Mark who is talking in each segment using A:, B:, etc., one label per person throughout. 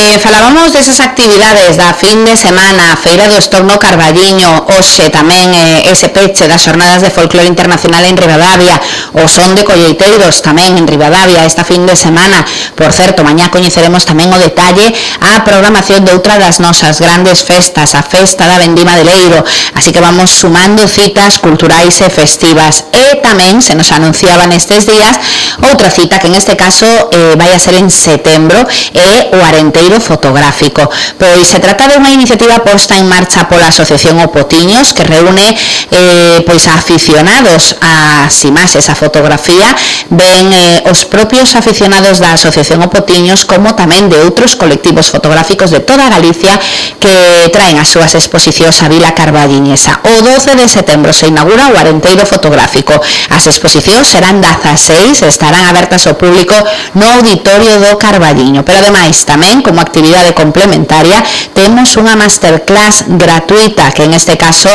A: Falábamos desas actividades da fin de semana, a Feira do Estorno Carballiño, hoxe tamén ese peche das Xornadas de Folclore Internacional en Ribadavia, o Son de Colleiteiros tamén en Ribadavia esta fin de semana. Por certo, mañá coñeceremos tamén o detalle a programación de outra das nosas grandes festas, a Festa da Vendima de Leiro, así que vamos sumando citas culturais e festivas. E tamén se nos anunciaba nestes días outra cita que en este caso vai a ser en setembro, é o Arenteiro Fotográfico. Pois se trata de unha iniciativa posta en marcha pola Asociación O Potiños, que reúne pois a aficionados ás imaxes, a fotografía, ben os propios aficionados da Asociación O Potiños, como tamén de outros colectivos fotográficos de toda Galicia que traen as súas exposicións a Vila Carballiñesa. O 12 de setembro se inaugura o Arenteiro Fotográfico. As exposicións serán 16, estarán abertas ao público no Auditorio do Carballiño, pero ademais tamén como actividade complementaria temos unha masterclass gratuita que en este caso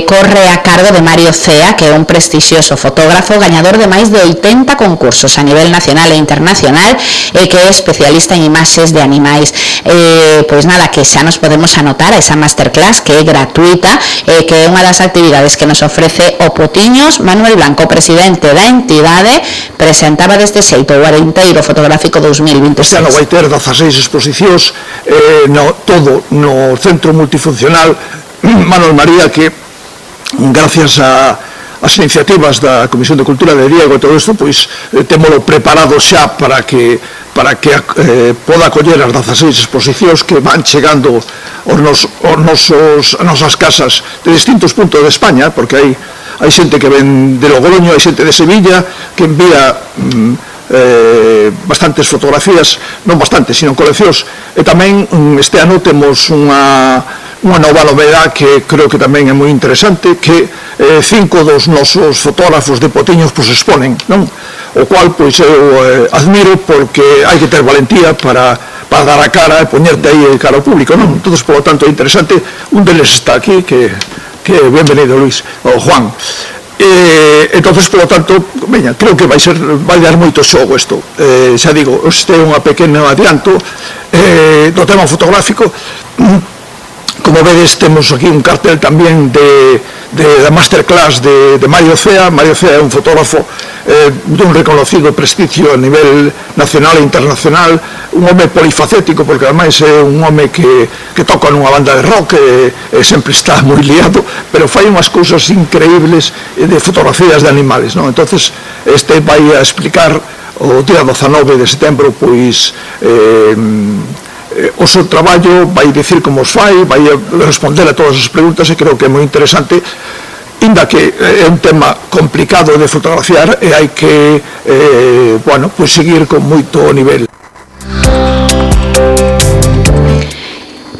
A: corre a cargo de Mario Cea, que é un prestixioso fotógrafo gañador de máis de 80 concursos a nivel nacional e internacional e que é especialista en imaxes de animais. Pois nada, que xa nos podemos anotar a esa masterclass que é gratuita e que é unha das actividades que nos ofrece O Potiños. Manuel Blanco, presidente da entidade, presentaba deste xeito o Arenteiro Fotográfico 2026.
B: Este ano vai ter 16 exposicións, todo no Centro Multifuncional Manuel María, que gracias as iniciativas da Comisión de Cultura de Diego e todo isto, pois témolo preparado xa para que poda acoller as 16 exposicións que van chegando as nosas casas de distintos puntos de España, porque hai xente que ven de Logroño, hai xente de Sevilla que envía bastantes fotografías, non bastantes, sino coleccións. E tamén este ano temos unha nova novedade que creo que tamén é moi interesante, que 5 dos nosos fotógrafos de Potiños pois exponen, non? O cual pois eu admiro, porque hai que ter valentía para dar a cara e poñerte aí cara ao público, non? Entón, por lo tanto, é interesante. Un deles está aquí, que bienvenido, Luis, o Juan. Entonces, por lo tanto, veña, creo que vai dar moito xogo isto. Xa digo, este é unha pequeno adianto do tema fotográfico. Como vedes, temos aquí un cartel tamén da masterclass de Mario Cea. Mario Cea é un fotógrafo dun reconocido prestigio a nivel nacional e internacional, un home polifacético, porque ademais é un home que toca nunha banda de rock e sempre está moi liado, pero fai unhas cousas increíbles de fotografías de animales, non? Entonces, este vai a explicar o día 19 de setembro, pois o seu traballo, vai dicir como os fai, vai responder a todas as preguntas, e creo que é moi interesante, inda que é un tema complicado de fotografiar e hai que seguir con moito nivel.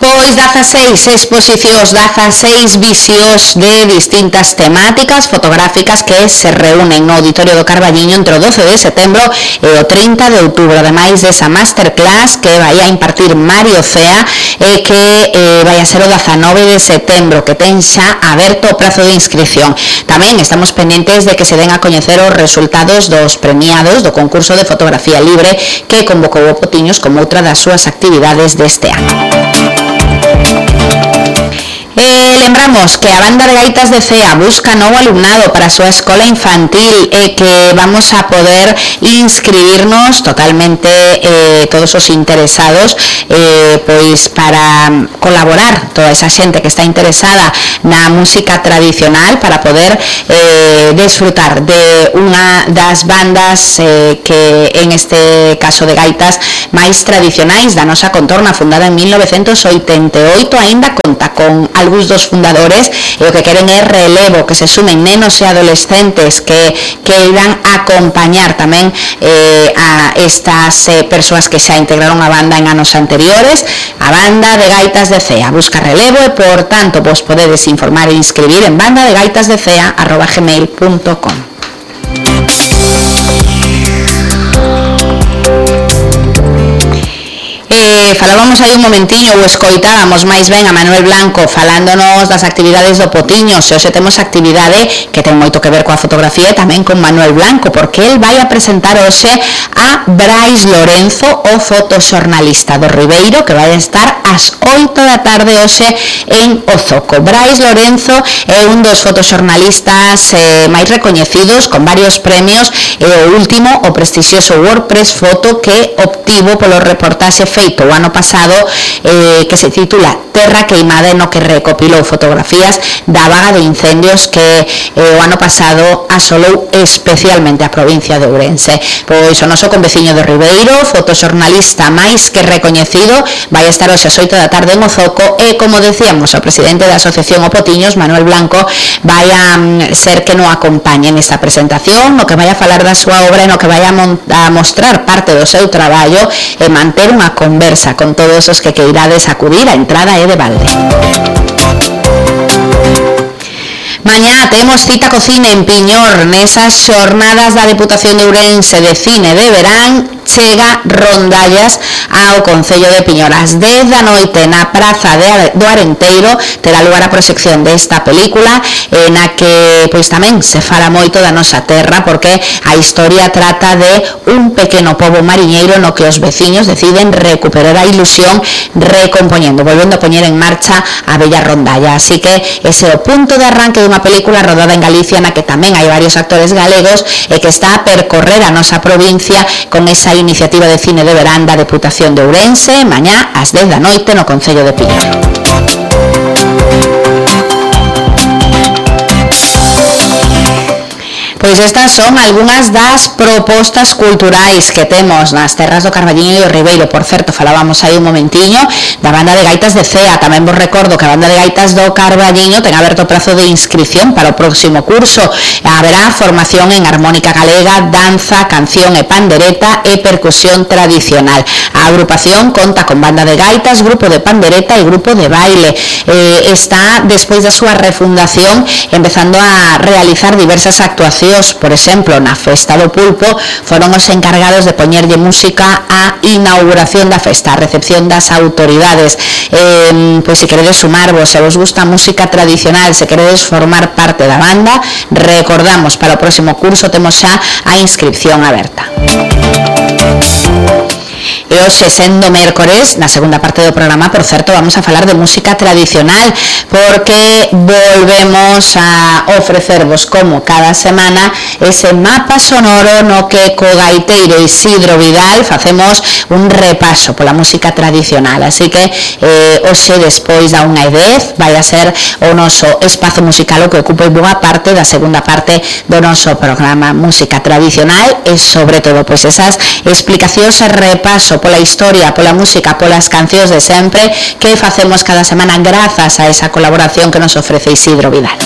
A: Pois 16 exposicións, 16 visións de distintas temáticas fotográficas que se reúnen no Auditorio do Carballiño entre o 12 de setembro e o 30 de outubro, ademais desa masterclass que vai a impartir Mario Cea e que vai a ser o 19 de setembro, que ten xa aberto o prazo de inscripción. Tamén estamos pendentes de que se den a coñecer os resultados dos premiados do concurso de fotografía libre que convocou o Potiños como outra das súas actividades deste ano. Lembramos que a banda de gaitas de Cea busca novo alumnado para a súa escola infantil e que vamos a poder inscribirnos totalmente todos os interesados pois para colaborar toda esa xente que está interesada na música tradicional, para poder desfrutar de unha das bandas que en este caso de gaitas máis tradicionais da nosa contorna, fundada en 1988, aínda conta con algúns dos fundadores, e o que queren é relevo, que se sumen nenos e adolescentes que irán acompañar tamén a estas persoas que xa integraron a banda en anos anteriores. A banda de gaitas de Cea busca relevo e, por tanto, vos podedes informar e inscribir en bandadegaitasdecea@gmail.com. falábamos aí un momentiño ou escoitábamos máis ben a Manuel Blanco falándonos das actividades do Potiño. Se hoxe temos actividade que ten moito que ver coa fotografía e tamén con Manuel Blanco, porque el vai a presentar hoxe a Brais Lorenzo, o fotoxornalista do Ribeiro, que vai a estar ás 8 da tarde hoxe en Ozoco. Brais Lorenzo é un dos fotoxornalistas máis recoñecidos, con varios premios, e o último, o prestixioso WordPress Foto, que obtivo polo reportaxe feito o ano pasado, que se titula Terra Queimada, no que recopilou fotografías da vaga de incendios que o ano pasado asolou especialmente a provincia de Ourense. Pois o noso conveciño do Ribeiro, fotoxornalista máis que recoñecido, vai estar hoxe ás 8 da tarde en Ozoco e, como decíamos, o presidente da Asociación O Potiños, Manuel Blanco, vai a ser que no acompañe nesta presentación, no que vai a falar da súa obra e no que vai a mostrar parte do seu traballo e manter unha conversa con todos os que queirades acudir. A entrada é de balde. Mañá temos cita co cine en Piñor. Nesas xornadas da Deputación de Ourense de Cine de Verán chega Rondallas ao Concello de Piñor. Ás 10 da noite na Praza do Arenteiro terá lugar a proxección desta película, na que pois tamén se fala moito da nosa terra, porque a historia trata de un pequeno pobo mariñeiro no que os veciños deciden recuperar a ilusión recompoñendo, volvendo a poñer en marcha a bella rondalla. Así que ese é o punto de arranque dunha película rodada en Galicia, na que tamén hai varios actores galegos e que está a percorrer a nosa provincia con esa iniciativa de cine de verán da Deputación de Ourense, mañá ás 10 da noite no Concello de Piñor. Pois estas son algunhas das propostas culturais que temos nas terras do Carballiño e do Ribeiro. Por certo, falábamos aí un momentiño da banda de gaitas de Cea. Tamén vos recordo que a banda de gaitas do Carballiño ten aberto o prazo de inscripción para o próximo curso. Haberá formación en armónica galega, danza, canción e pandereta e percusión tradicional. A agrupación conta con banda de gaitas, grupo de pandereta e grupo de baile. Está, despois da súa refundación, empezando a realizar diversas actuacións. Por exemplo, na Festa do Pulpo foron os encargados de poñerlle música á inauguración da festa, a recepción das autoridades. Pois se queredes sumarvos, se vos gusta a música tradicional, se queredes formar parte da banda, recordamos, para o próximo curso temos xa a inscripción aberta. E hoxe, sendo mércores, na segunda parte do programa, por certo, vamos a falar de música tradicional, porque volvemos a ofrecervos, como cada semana, ese mapa sonoro no que co gaiteiro Isidro Vidal facemos un repaso pola música tradicional. Así que hoxe, despois da 1:10, vai a ser o noso espazo musical o que ocupa boa parte da segunda parte do noso programa Música Tradicional, e sobre todo pois esas explicacións e repaso pola historia, pola música, polas cancións de sempre que facemos cada semana grazas a esa colaboración que nos ofrece Isidro Vidal.